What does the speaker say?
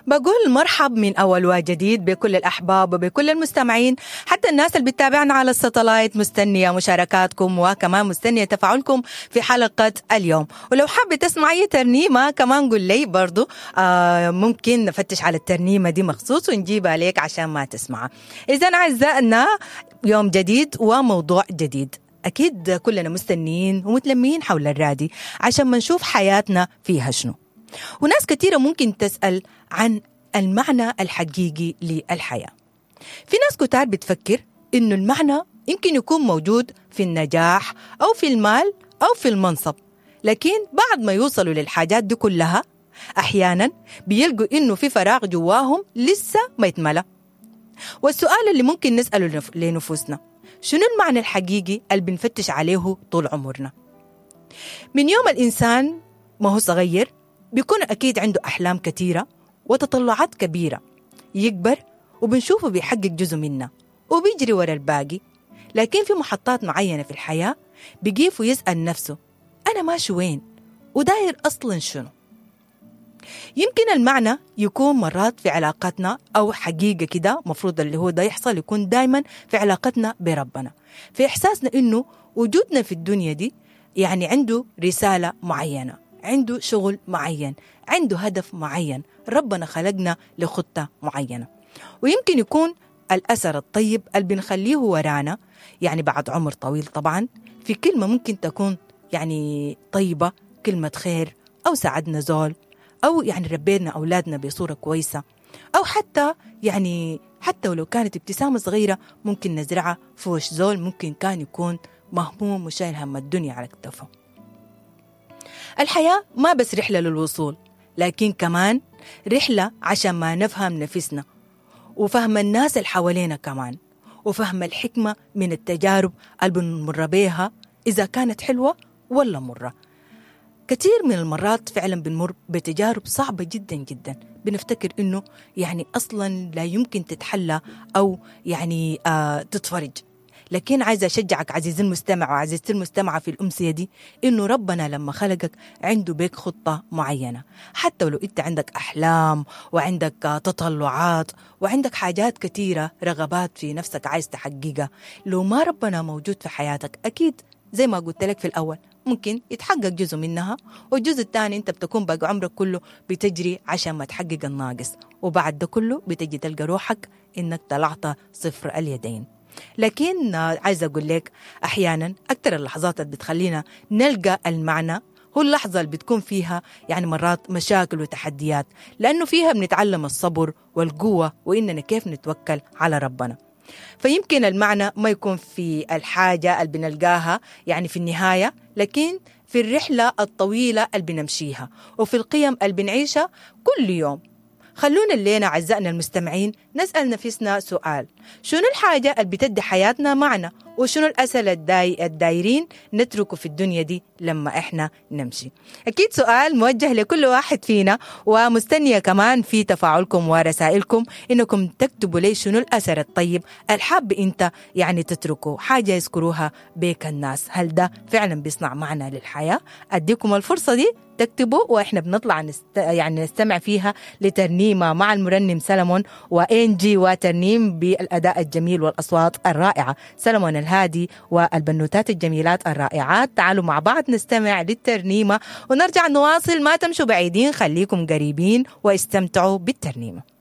بقول مرحب من أول وجديد بكل الأحباب وبكل المستمعين، حتى الناس اللي بتتابعنا على الستلايت. مستنية مشاركاتكم وكمان مستنية تفاعلكم في حلقة اليوم. ولو حابة تسمع أي ترنيمة كمان قول لي برضو، ممكن نفتش على الترنيمة دي مخصوص ونجيبها لك عشان ما تسمعها. إذا أعزائنا، يوم جديد وموضوع جديد، أكيد كلنا مستنيين ومتلمين حول الرادي عشان ما نشوف حياتنا فيها شنو. وناس كثيرة ممكن تسأل عن المعنى الحقيقي للحياة. في ناس كتار بتفكر إنه المعنى يمكن يكون موجود في النجاح أو في المال أو في المنصب، لكن بعد ما يوصلوا للحاجات دي كلها أحيانا بيلقوا إنه في فراغ جواهم لسه ما يتملى. والسؤال اللي ممكن نسأله لنفوسنا، شنو المعنى الحقيقي اللي بنفتش عليه طول عمرنا؟ من يوم الإنسان ما هو صغير بيكون أكيد عنده أحلام كثيرة وتطلعات كبيرة، يكبر وبنشوفه بيحقق جزء منها وبيجري ورا الباقي، لكن في محطات معينة في الحياة بيقيف ويسأل نفسه أنا ماشي وين وداير أصلا شنو؟ يمكن المعنى يكون مرات في علاقتنا، أو حقيقة كده مفروض اللي هو ده يحصل يكون دايما في علاقتنا بربنا، في إحساسنا إنه وجودنا في الدنيا دي يعني عنده رسالة معينة، عنده شغل معين، عنده هدف معين، ربنا خلقنا لخطة معينة. ويمكن يكون الأثر الطيب اللي بنخليه ورانا يعني بعد عمر طويل طبعا، في كلمة ممكن تكون يعني طيبة، كلمة خير، أو ساعدنا زول، أو يعني ربينا أولادنا بصورة كويسة، أو حتى يعني حتى ولو كانت ابتسامة صغيرة ممكن نزرعها في وش زول ممكن كان يكون مهموم وشايل هم الدنيا على كتفه. الحياة ما بس رحلة للوصول، لكن كمان رحلة عشان ما نفهم نفسنا وفهم الناس اللي حوالينا كمان، وفهم الحكمة من التجارب اللي بنمر بيها إذا كانت حلوة ولا مرة. كثير من المرات فعلا بنمر بتجارب صعبة جدا جدا، بنفتكر إنه يعني أصلا لا يمكن تتحلى أو يعني تتفرج، لكن عايزة أشجعك عزيزي المستمع وعزيزتي المستمعة في الأمسية دي إنه ربنا لما خلقك عنده بيك خطة معينة، حتى ولو أنت عندك أحلام وعندك تطلعات وعندك حاجات كثيرة، رغبات في نفسك عايز تحققها، لو ما ربنا موجود في حياتك أكيد زي ما قلت لك في الأول ممكن يتحقق جزء منها، والجزء الثاني أنت بتكون باقي عمرك كله بتجري عشان ما تحقق الناقص، وبعد ده كله بتجي تلقى روحك إنك طلعت صفر اليدين. لكن عايزة أقول لك أحيانا أكثر اللحظات اللي بتخلينا نلقى المعنى هو اللحظة اللي بتكون فيها يعني مرات مشاكل وتحديات، لأنه فيها بنتعلم الصبر والقوة وإننا كيف نتوكل على ربنا. فيمكن المعنى ما يكون في الحاجة اللي بنلقاها يعني في النهاية، لكن في الرحلة الطويلة اللي بنمشيها وفي القيم اللي بنعيشها كل يوم. خلونا الليلة أعزائنا المستمعين نسأل نفسنا سؤال، شنو الحاجة اللي بتدي حياتنا معنى؟ وشنو الأسئلة الدايرين نتركه في الدنيا دي لما إحنا نمشي؟ أكيد سؤال موجه لكل واحد فينا، ومستنية كمان في تفاعلكم ورسائلكم إنكم تكتبوا لي شنو الأثر الطيب الحاب أنت يعني تتركه، حاجة يذكروها بيك الناس، هل ده فعلا بيصنع معنى للحياة؟ أديكم الفرصة دي تكتبوا، وإحنا بنطلع يعني نستمع فيها لترنيمة مع المرنم سلمون وإنجي، وترنيم بالأداء الجميل والأصوات الرائعة، سلمون الهادي والبنوتات الجميلات الرائعات. تعالوا مع بعض نستمع للترنيمة ونرجع نواصل، ما تمشوا بعيدين، خليكم قريبين واستمتعوا بالترنيمة.